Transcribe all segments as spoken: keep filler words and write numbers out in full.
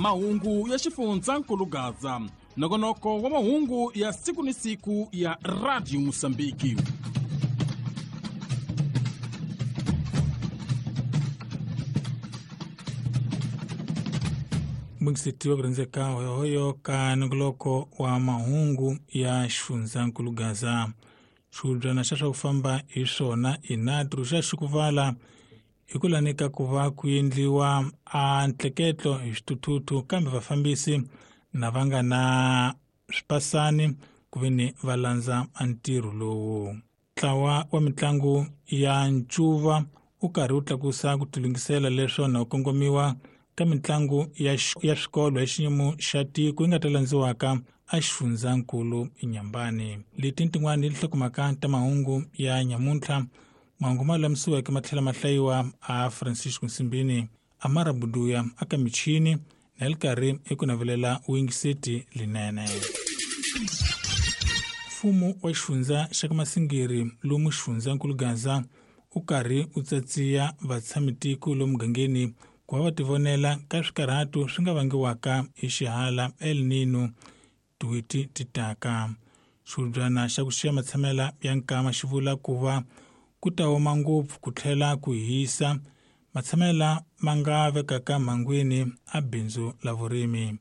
Mahungu ya xifundzankulu Gaza, nongonoko wa mahungu ya siku ni siku ya Radio Mosambiki. Mwisitiwa kurenzeka hoyohoyo ka nongoloko wa mahungu ya xifundzankulu Gaza. Xihubyana xa swa ku famba hi swona i NATRU xa xikuvala hi ku lanika ku va ku endliwa a ntleketlo hi xithuthuthu, kambe vafambisi na va nga na swipasani ku ve ni va landza a ntirho lowu. Ntlawa wa mitlangu ya ncuva wu karhi wu tlakusa ku tilunghisela leswo na ku kongomiwa ka mitlangu ya ya swikolo ya xiyimo xa tiko yi nga ta landziwaka a xifundzankulu Inhambane. Leti tin'wana tinhlokomhaka ta mahungu ya nyamuntlha. Mahungu ma lulamisiweke ma tlhela ma hlayiwa a Francisco Nsimbini, Amara Buduya aka michini na li karhi eku navelela wingiseti linene. Mfumo wa xifundza xa ka Masingiri lomu xifundzankulu Gaza wu karhi wu tsatsiya vatshamitiko lomu mugangeni ku va va tivonela ka swikarhato swi nga vangiwaka hi xihala El Nino tiwiti ti taka. Xihubyana xa ku xiya matshamela ya nkama xi vula ku va ku ta oma ngopfu ku tlhela ku hisa matshamela ma nga vekaka mhangwini a bindzu la vurimi.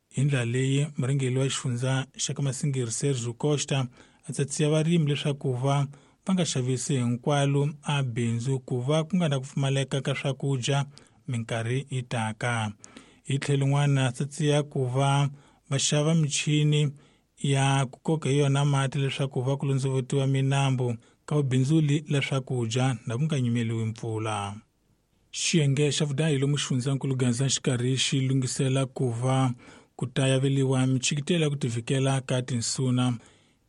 Hi ndlela leyi murhangeri wa xifundza xa ka Masingiri Sergio Costa a tsatsiya varimi leswaku va va nga xavisi hinkwalo a bindzu ku va ku nga na ku pfumaleka ka swakudya minkarhi yi taka. Hi tlhelo rin'wana tsatsiya ku va va xava michini ya ku koka hi yona mati leswaku va ku londzovetiwa minambu ka vubindzuli la swakudya na ku nga nyimeliwi mpfula. Xiyenge xa vudahi lomu xifundzankulu Gaza xikarhi xi lunghisela ku va ku ta yaveliwa michikitelo ya ku tivikela ka tinsuna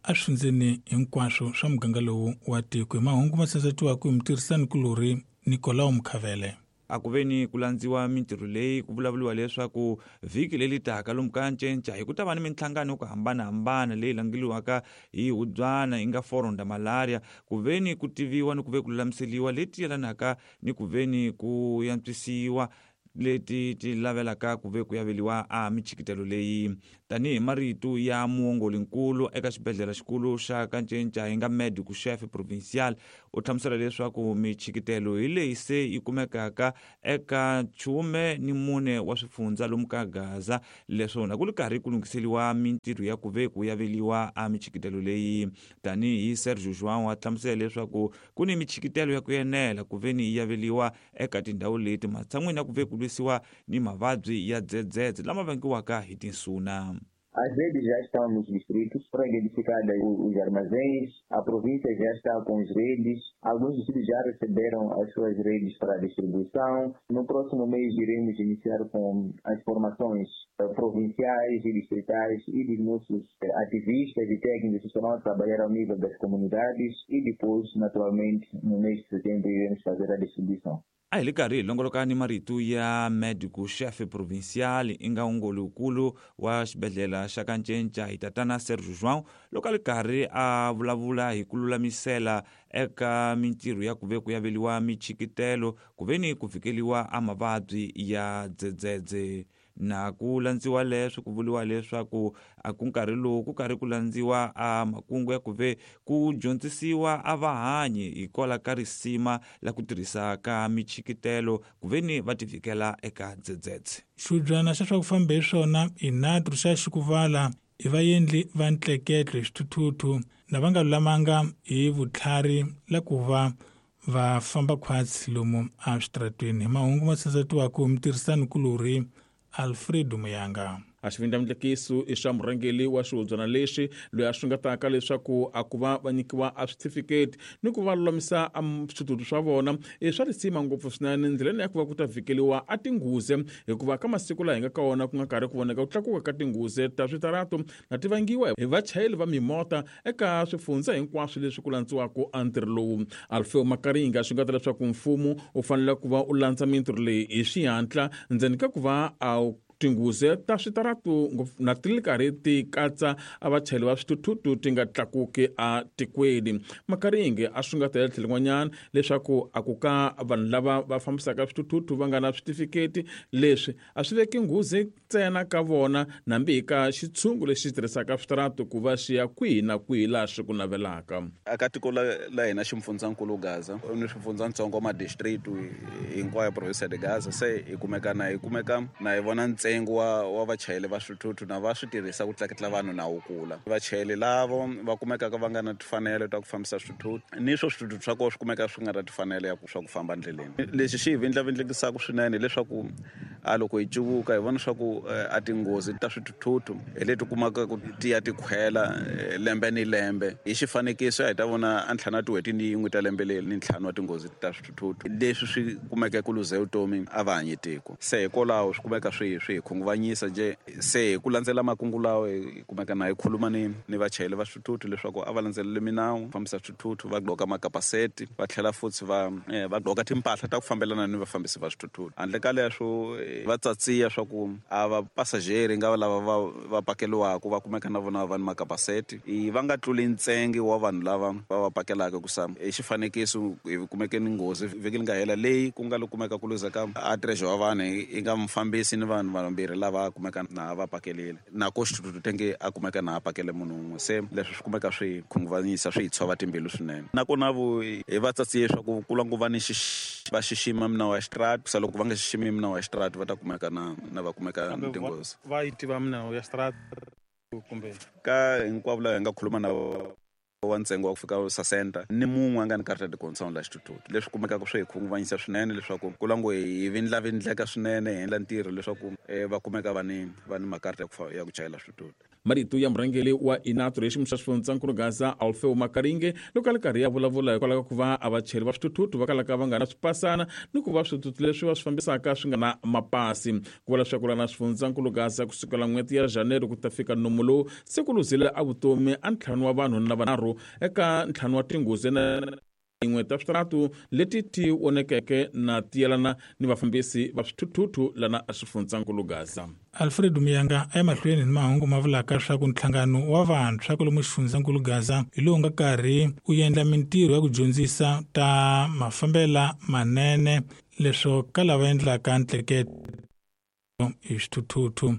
eswifundzeni hinkwaswo swa muganga lowu wa tiko. Hi mahungu ma sasetiwaka hi mutirhisanikulorhi Nicolau Mkhavele. A ku ve ni ku landziwa mintirho leyi ku vulavuriwa leswaku vhiki leri taka lomu ka Ncenca hi ku ta va ni minhlangano yo ku hambanahambana leyi langeliwaka hi hubyana yi nga Forum da Malaria, ku ve ni ku tiviwa ni ku ve ku lulamiseliwa leti yelanaka ni ku ve ni ku yantswisiwa leti ti lavelaka ku ve ku yaveliwa a michikitelo leyi. Tanihi marito ya muongolinkulu eka xibedhlele xikulu xa ka Ncenca hi nga medico chef provincial, u hlamusela leswaku michikitelo hi leyi se yi kumekaka eka chume ni mune wa swifundza lomu ka Gaza, leswona ku ri karhi ku lunghiseliwa mintirho ya ku ve ku yaveliwa a michikitelo leyi. Tanihi Sergio João a hlamusela leswaku ku ni michikitelo ya ku enela ku ve ni yi yaveliwa eka tindhawu leti matshan'wini ya ku ve ku lwisiwa ni mavabyi ya dzedzedze lama vangiwaka hi tinsuna. As redes já estão nos distritos, foram identificadas os armazéns, a província já está com as redes, alguns distritos já receberam as suas redes para distribuição. No próximo mês iremos iniciar com as formações provinciais e distritais e dos nossos ativistas e técnicos que estarão a trabalhar ao nível das comunidades e depois, naturalmente, no mês de setembro iremos fazer a distribuição. A hi le karhi hi longoloka ni marito ya medico chef provincial i nga ongolinkulu wa xibedhlele xa ka Ncenca hi tatana Sergio João, loko a li karhi a vulavula hi ku lulamisela eka mintirho ya ku ve ku yaveliwa michikitelo ku ve ni ku vikeliwa a mavabyi ya dzedzedze. Na ku landziwa leswi ku vuriwa leswaku a ku nkarhi lowu ku karhi ku landziwa a makungu ya ku ve ku dyondzisiwa a vahanyi hikwalaho ka risima la ku tirhisa ka michikitelo ku ve ni va tivikela eka dzedzedze. Xihubyana xa swa ku famba hi swona i NATRU xa xikuvala hi vaendli va ntleketlo hi xithuthuthu na va nga lulamanga hi vutlhari la ku va va famba khwatsi lomu eswitarateni. Hi mahungu ma sasetiwaka hi mutirhisanikulorhi Alfredo Muyanga. A xivindlamundlekiso i xa murhangeri wa xihubyana lexi loyi a xungetaka leswaku a ku va va nyikiwa a switifiketi ni ku va lulamisa a switutu swa vona i swa risima ngopfu swinene ndleleni ya ku va ku ta vhikeliwa a tinghuzi, hikuva ka masiku laha hi nga ka wona ku nga karhi ku voneka ku tlakuka ka tinghuzi ta switarato na ti vangiwa hi vachayeri va mimota eka swifundza hinkwaswo leswi ku landziwaka a ntirho lowu. Alfeo Makaringa xungeta leswaku mfumo wu fanele ku va u landza mintirho leyi hi xihatla ndzeni ka ku va a Tinghozi ta switaratu na ti ri karhi ti katsa a vachayeri va swithuthuthu ti nga tlakuki a tikweni. Makaringe a swi nga ta tlhelo rin'wanyana leswaku a ku ka vanhu lava va fambisaka swithuthuthu va nga na switifiketi leswi a swi veki nghozi ntsena ka vona nambi hi ka xitshungu lexi tirhisaka switaratu ku va xi ya kwihi na kwihi laha swi ku navelaka. Aka tiko la hina ximfundzankulu Gaza ni swifundzatsongo ma district hinkwayo province de Gaza se hi kumeka na hi kumeka na hi vona ntsengo wa wa vachayeri va swithuthuthu na va swi tirhisa ku tleketla vanhu na wu kula. Vachayeri lavo va kumekaka va nga na timfanelo ta ku fambisa swithuthuthu ni swo swithuthuthu swa kona swi kumeka swi nga na timfanelo ya ku swa ku famba ndleleni. Lexi xi hi vindlavindlekisaka swinene hileswaku a loko hi cuvuka hi vona swa ku a tinghozi ta swithuthuthu hi leti kumaka ku ti ya ti khwela lembe ni lembe. Hi xifanekiso hi ta vona a ntlhanu tin'hweti ni yin'we ta lembe leri ni ntlhanu wa tinghozi ta swithuthuthu leswi swi kumeka ku luze vutomi a va hanyi tiko. Se hikwalaho swi kumeka swi swi hi khunguvanyisa je se hi ku landzela makungu lawa hi kumeka na hi khuluma ni ni vachayeri va swithuthuthu leswaku a va landzeleli minawu fambisa swithuthuthu va gqoka makapaseti va tlhela futhi va va gqoka timpahla ta ku fambelana ni vafambisi va swithuthuthu. Handle ka leswo va tsatsiya swa ku a va pasajeri nga lava va va pakeliwaka va kumeka na vona va ni makapaseti va nga tluli ntsengo wa vanhu lava va va pakelaka ku sa hi xifanekiso hi kumeke ni nghozi vhiki li nga hela leyi ku nga lo kumeka ku luza ka a treasure wa vanhu yi nga mufambisi ni vanhu vambirhi lava kumeka na va pakelile na ko xithuthuthu tenge a kumeka na a pakele munhu un'we. Se leswi swi kumeka swi khunguvanyisa swi hi tshova timbilu swinene. Nakona vo hi va tsatsiye swa ku kula ngo va ni va xixima minawu ya xitaratu sa loko va nga xiximi minawu ya xitaratu va ta kumeka na na va kumeka ni tinghozi. Va yi tiva minawu ya xitaratu kumbe ka hinkwavo lava hi nga khuluma na wa ntsengo wa ku fika sasenta ni mun'we a nga ni karata de concern la xithuthuthu leswi kumekaka swi hi khunguvanyisa swinene leswaku ku lango hi vindlavindleka swinene hi endla ntirho leswaku va kumeka va ni va ni makarata ya ku ya ku chayela swithuthuthu. Marito ya murhangeri wa INATRO hi xiyimo xa xifundzankulu Gaza Alfeo Makaringe loko a ri karhi ya vulavula hikwalaho ka ku va a vachayeri va swithuthuthu va kalaka va nga na swipasana ni ku va swithuthuthu leswi va swi fambisaka swi nga na mapasi. Ku vula leswaku lana xifundzankulu Gaza kusukela n'hweti ya January ku ta fika nomu lowu se ku luzile a vutomi a ntlhanu wa vanhu na vanharhu eka ntlhanu wa tinghozi na yin'we ta switaratu leti ti onekeke na tiyelana ni vafambisi va swithuthuthu lana xifundzankulu Gaza. Alfred Miyanga a ya mahlweni ni mahungu ma vulaka swa ku nhlangano wa vantshwa kwalomu xifundzankulu Gaza hi lowu nga karhi u endla mintirho ya ku dyondzisa ta mafambela manene leswo ka lava endlaka ntleketo hi swithuthuthu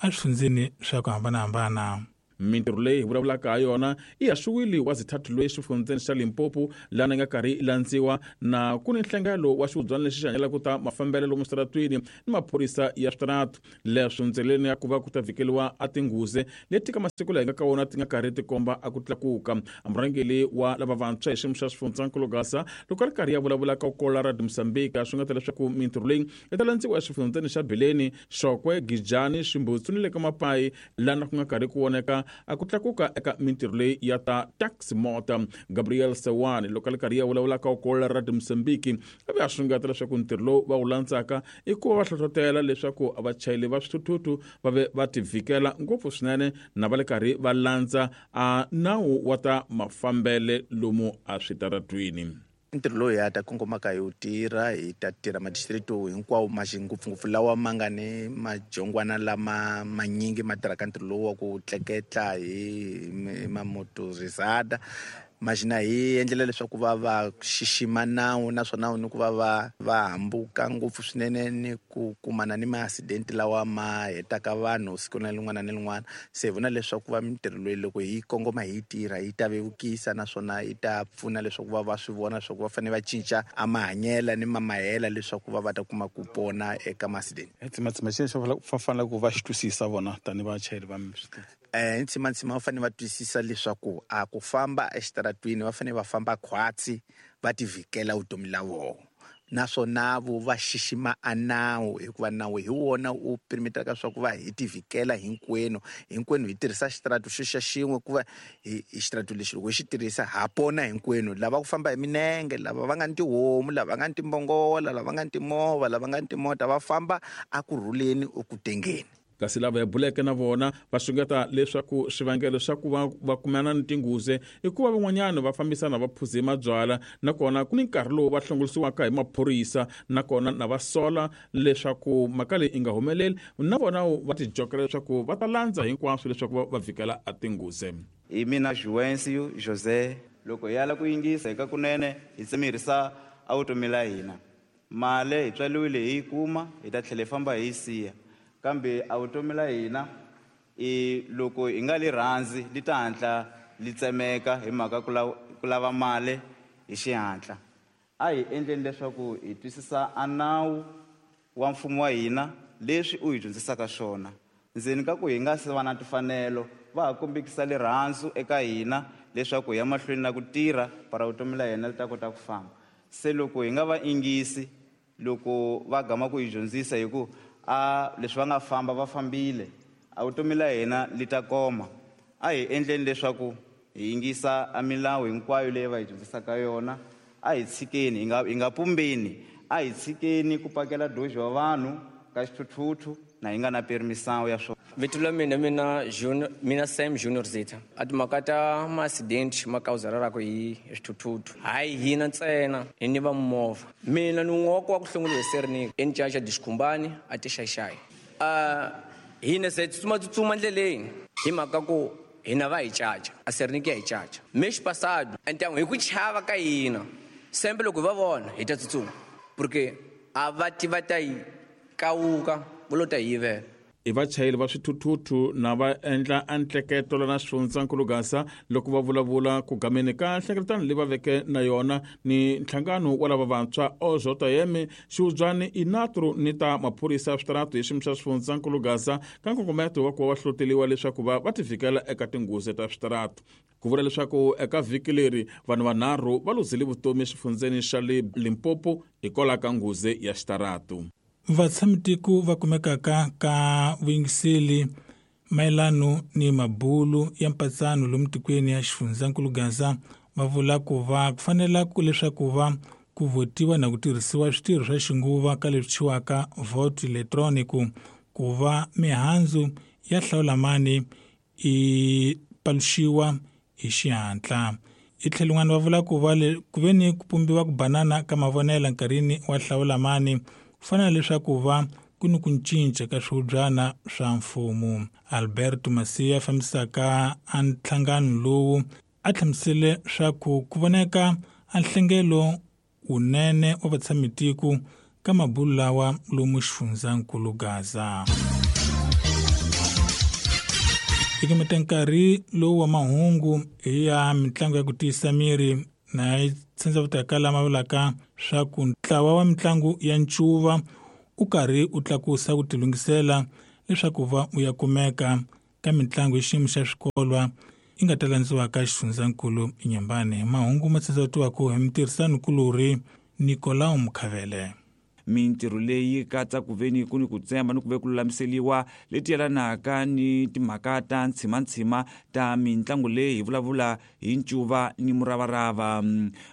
eswifundzeni swa ku hambanahambana. Mintirho leyi hi vulavulaka ha yona i haxiwile wa zithathu loyi exifundzeni xa Limpopo laha nga karhi yi landziwa na ku ni nhlangano wa xihubyana lexi xi hanyelaka ta mafambelo lomu switaratwini ni maphorisa ya switaratu. Leswo ndleleni ya ku va ku ta vhikeliwa a tinghozi leti ka masiku laha hi nga ka wona ti nga karhi ti komba a ku tlakuka. Murhangeri wa lava vantshwa hi xiyimo xa xifundzankulu Gaza loko a ri karhi ya vulavula ka kola ra Mozambique swi nga ta leswaku mintirho leyi yi ta landziwa exifundzeni xa Bileni, Xokwe, Gijani, Ximbutsu ni le ka Mapayi laha ku nga karhi ku voneka a ku tlakuka eka mintirho leyi ya ta taxi mota. Gabriel Sewani loko a ri karhi ya vulavula ka kola ra Mozambique a ve a sungata leswaku ntirho lowu va wu landzaka i ku va va hlohlotela leswaku vachayeri va swithuthuthu va ve va tivhikela ngopfu swinene na va le karhi va landza a nawu wa ta mafambele lomu a switaratwini. Ntirho lowu hi ya ta kongomaka hi wu tirha hi ta tirha madistrito hinkwawo ma ngopfungopfu lawa ma nga ni majongwana lama manyingi ma tirhaka ntirho lowu wa ku tleketla hi mamotorizada maxina hi endlela leswaku va va xixima nawu naswona ni ku va va va hambuka ngopfu swinene ni ku kumana ni ma-accident lawa ma hetaka vanhu siku na rin'wana na rin'wana. Se hi vona leswaku va mintirho leyi loko hi kongoma hi tirha yi ta vevukisa naswona yi ta pfuna leswaku va va swi vona leswaku va fanele va cinca a mahanyela ni mamahela leswaku va va ta kuma ku pona eka ma-accident. Tsimatsima xexo va fanele ku va xi twisisa vona tanihi vachayeri va swithuthuthu. Eh ntsimatsima va fanele va twisisa leswaku a ku famba exitaratwini va fanele va famba khwatsi va tivhikela vutomi la vona naswona vo va xixima a nawu hikuva nawu hi wona u perimeteraka swa ku va hi tivhikela hinkwenu hinkwenu hi tirhisa xitaratu xo xa xin'we ku va hi xitaratu lexi loko hi xi tirhisa ha pona hinkwenu lava ku famba hi minenge lava va nga ni tihomu lava nga ni timbongola lava nga ni timovha lava nga ni timota va famba a ku rhuleni eku tengeni. Kasi lava hi buleke na vona va xungeta leswaku swivangelo swa ku va va kumana ni tinghozi i ku va van'wanyana va fambisana va phuze mabyala, nakona ku ni nkarhi lowu va hlongorisiwaka hi maphorisa, nakona na va sola leswaku mhaka leyi yi nga humeleli, na vona va tijokela leswaku va ta landza hinkwaswo leswaku va va vhikela a tinghozi. Hi mina Juvencio José. Loko hi ala ku yingisa hi ka kunene hi tsemerisa a vutomi la hina. Mali hi tswaliwile hi yi kuma, hi ta tlhela hi famba hi yi siya. Kambe a vutomi la hina i loko hi nga li rhandzi li ta hatla li tsemeka hi mhaka ku ku lava mali hi xihatla. A hi endleni leswaku hi twisisa a nawu wa mfumo wa hina leswi u hi dyondzisaka swona. Ndzeni ka ku hi nga se va na timfanelo va ha kombekisa rirhandzu eka hina leswaku hi ya mahlweni na ku tirha para vutomi la hina li ta kota ku famba. Se loko hi nga va yingisi loko va gama ku hi dyondzisa hi ku a leswi va nga famba va fambile, a vutomi la hina li ta koma. A hi endleni leswaku hi yingisa a milawu hinkwayo leyi va hi dyondzisaka yona. A hi tshikeni, hi nga hi nga pumbeni, a hi tshikeni ku pakela doji wa vanhu ka xithuthuthu na hi nga na permisawu ya swona. Vito la mina mina Junior, mina Sam Junior Zita. A timhaka ta ma-accident ma kawuzararaka hi swithuthuthu hayi hina ntsena hi ni va movha. Mina ni un'we wa ku wa ku hlongoriwa hi Sernik eNcaca Dixikhumbani a tixaxayi. Uh, hina se tsutsuma ndleleni hi mhaka ku hina va hi caca, a Sernik ya hi caca. Mês passado, então hi ku chava ka hina sembe loko hi va vona hi ta tsutsuma porque a va tiva ta yi kawuka va lo ta hi yivela. I vachayeri va swithuthuthu na va endla antleketo lana xifundzankulu Gaza loko va vulavula ku gameni ka nhlengeletano leyi va veke na yona ni nhlangano wa lava vantshwa O J M xihubyani inatru ni ta maphorisa ya switaratu hi xiyimo xa xifundzankulu Gaza ka nkongometo wa ku va va hlohloteliwa leswaku va va tivikela eka tinghozi ta switaratu. Ku vula leswaku eka vhiki leri vanhu vanharhu va luzile vutomi exifundzeni xa le Limpopo hikwalaho ka nghozi ya xitaratu. Vatshamitiko va kumekaka ka vuyingiseli mayelano ni mabulu ya mpatsano lomu tikweni ya xifundzankulu Gaza va vula ku va ku fanela ku leswaku va ku votiwa na ku tirhisiwa switirho swa xinguva ka leswi thyiwaka vote electronic ku va mihandzu ya hlawulamani i paluxiwa hi xihatla. Hi tlhelo rin'wana va vula ku va ku ve ni ku pumbiwa ku banana ka mavonelo nkarhini wa hlawulamani ku fana leswaku va ku ni ku cinca ka swihubyana swa mfumo. Alberto Masia fambisaka a nhlangano lowu a hlamusele swa ku ku voneka a nhlengelo wunene wa vatshamitiko ka mabulu lawa lomu xifundzankulu Gaza. Hi nkarhi lowu wa mahungu hi ya mitlangu ya ku tiyisa miri na yi tsandza lama vulaka swa ku ntlawa wa mitlangu ya ncuva u karhi u tlakusa ku tilunghisela leswaku va u ya kumeka ka mitlangu hi xiyimo xa swikolwa yi nga ta landziwaka xifundzankulu Inyambane. Mahungu ma tsandza hi mutirhisani-kulorhi Nicolau Mkhavele. Mintirho leyi katsa ku ve ni ku ni ku tsemba ni ku ve ku lulamiseliwa leti yelanaka ni timhaka ta ntshimantshima ta mitlangu leyi hi vulavula hi ncuva ni muravarava.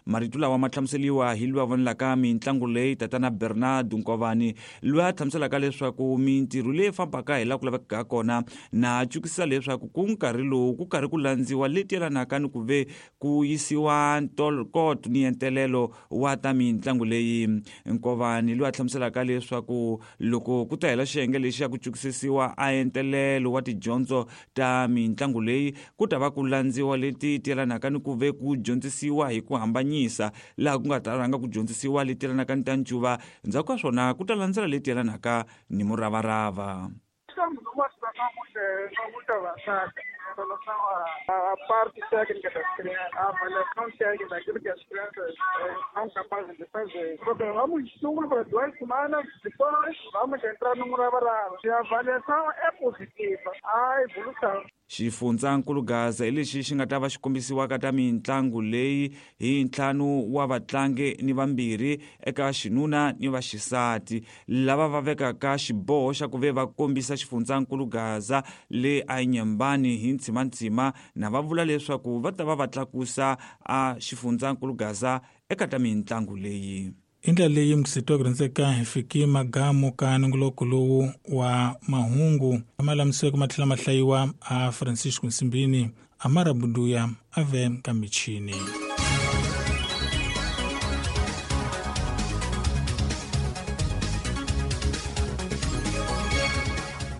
Marito lawa ma hlamuseliwa hi loyi a vonelaka mitlangu leyi tatana Bernard Nkovani loyi a hlamuselaka leswaku mintirho leyi fambaka hi laha ku lavekaka kona na cukisa leswaku ku nkarhi lowu ku karhi ku landziwa leti yelanaka ni ku ve ku yisiwa ntokoto ni entelelo wa ta mitlangu leyi. Nkovani loyi a hlamuselaka leswaku loko ku ta hela xiyenge lexi ya ku cukisisiwa a entelelo wa tidyondzo ta mitlangu leyi ku ta va ku landziwa leti yelanaka ni ku ve ku dyondzisiwa hi ku hambanyisa laha ku nga ta rhanga ku dyondzisiwa leti yelanaka ni ta ncuva, ndzhaku ka swona ku ta landzela leti yelanaka ni muravarava. Relação à, à parte técnica das crianças, a avaliação técnica daquilo que as crianças eh, são capazes de fazer. Programamos estudo para duas semanas, depois vamos entrar no muravarava. Se a avaliação é positiva, há evolução. Xifundzankulu Gaza hi lexi xi nga ta va xi kombisiwaka ta mitlangu leyi hi ntlhanu wa vatlangi ni vambirhi eka xinuna ni vaxisati lava va vekaka xiboho xa ku ve va kombisa xifundzankulu Gaza le a Inyambani hi ntshimantshima na va vula leswaku va ta va va tlakusa a xifundzankulu Gaza eka ta mitlangu leyi. I ndlela leyi mukisetiwa ku rhandzeka hi fiki magamu ka nongoloko lowu wa mahungu ma lamisiweke ma tlhela ma hlayiwa a Francisco Nsimbini Amara Bunduya ave ka michini.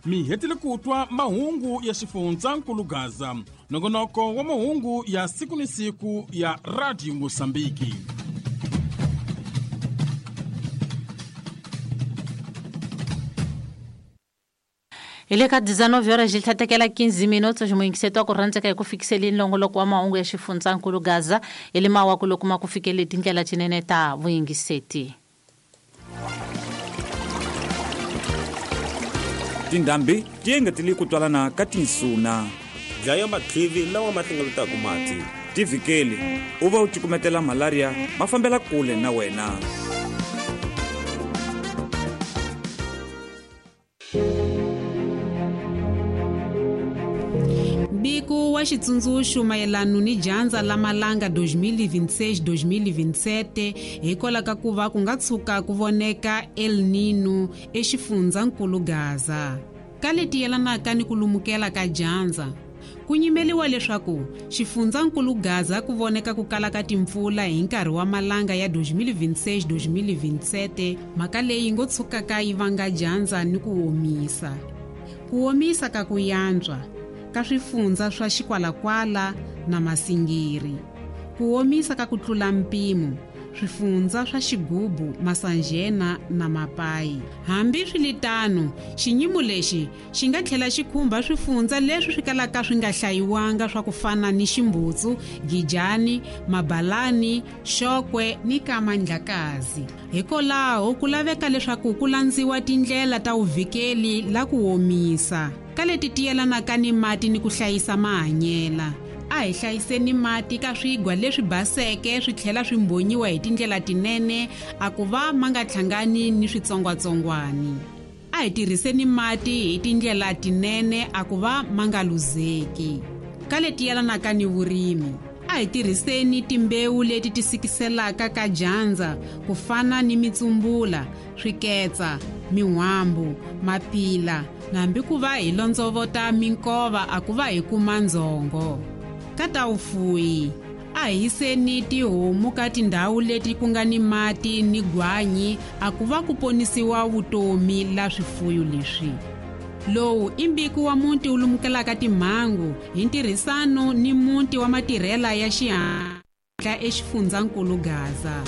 Mi hetile ku twa mahungu ya xifundzankulu Gaza, nongonoko wa mahungu ya siku ni siku ya Radio Mosambiki. Hi le ka dezenove horas de tlhatekela quinze minutos muyingisetwa ku rhandzeka hi ku fikiseleni nongoloko wa mahungu ya xifundzankulu Gaza hi le mawaku loko ma ku fikele tindlela tinene ta vuyingiseti. Tindhambi ti engetele ku twalana ka tinsuna. Dlaya matlivi lawa ma hlengeletaka mati. Tivikeli u va u cukumetela malaria ma fambela kule na wena. Mbiko wa xitsundzuxo mayelana ni dyandza la malanga dois mil e vinte e seis dois mil e vinte e sete hikwalaho ka ku va ku nga tshuka ku voneka El Nino exifundzankulu Gaza. Ka leti yelanaka ni ku lumukela ka dyandza, ku nyimeliwa leswaku xifundzankulu Gaza ku voneka ku kala ka timpfula hi nkarhi wa malanga ya dois mil e vinte e seis dois mil e vinte e sete, mhaka leyi ngo tshukaka yi vanga dyandza ni ku omisa. Ku omisa ka ku yantswa ka swifundza swa Xikwalakwala na Masingiri, ku omisa ka ku tlula mpimo swifundza swa Xigubu, Masanjena na Mapai. Hambi swiritano, xinyimo lexi xi nga tlhela xi khumba swifundza leswi swi kalaka swi nga hlayiwanga swa ku fana ni Ximbutsu, Gijani, Mabalani, Xokwe ni Kamandlakazi. Hikwalaho ku laveka leswaku ku landziwa tindlela ta vuvikeli la ku omisa ka leti ti yelanaka ni mati ni ku hlayisa mahanyela. A hi hlayiseni mati ka swigwa leswi baseke swi tlhela swi mbonyiwa hi tindlela tinene a ku va ma nga hlangani ni switsongwatsongwani. A hi tirhiseni mati hi tindlela tinene a ku va ma nga luzeki. Ka leti yelanaka ni vurimi, a hi tirhiseni timbewu leti ti sikiselaka ka dyandza ku fana ni mitsumbula, swiketsa, min'wambu, mapila, na hambi ku va hi londzovota minkova a ku va hi kuma ndzhongo. Ka ta vufuwi, a hi hiseni tihomu ka tindhawu leti ku nga ni mati ni gwanyi a ku va ku ponisiwa vutomi la swifuyo leswi. Lowu i mbiko wa muti wu lumukelaka timhangu hi ntirhisano ni muti wa matirhela ya xihatla exifundzankulu Gaza.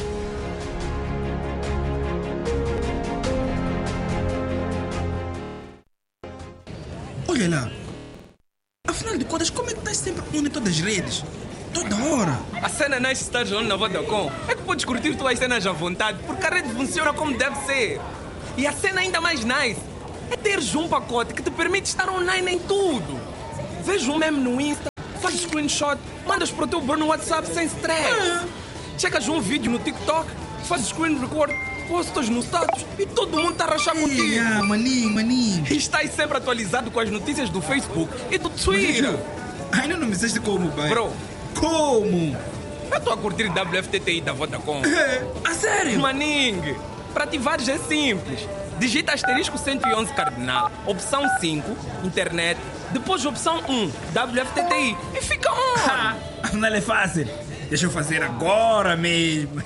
Olha lá. Afinal de contas, como é que estás sempre on em todas as redes? Toda hora. A cena nice estás on na Vodacom é que podes curtir tuas cenas à vontade, porque a rede funciona como deve ser. E a cena ainda mais nice é teres um pacote que te permite estar online em tudo. Vês um meme no Insta, fazes screenshot, mandas para o teu bro no WhatsApp sem stress. Ah. Checas um vídeo no TikTok, fazes screen record, postas no status e todo mundo está a rachar contigo. Ah, maninho, maninho. E estás sempre atualizado com as notícias do Facebook e do Twitter. Mas, ainda não me disseste como, pai. Bro. Como? Eu estou a curtir W F T T I da Vodacom. É, a sério? Maningue, para ativares é simples. Digita asterisco cento e onze cardinal, opção cinco, internet, depois opção um, W F T T I e fica on. Afinal é fácil. Deixa eu fazer agora mesmo.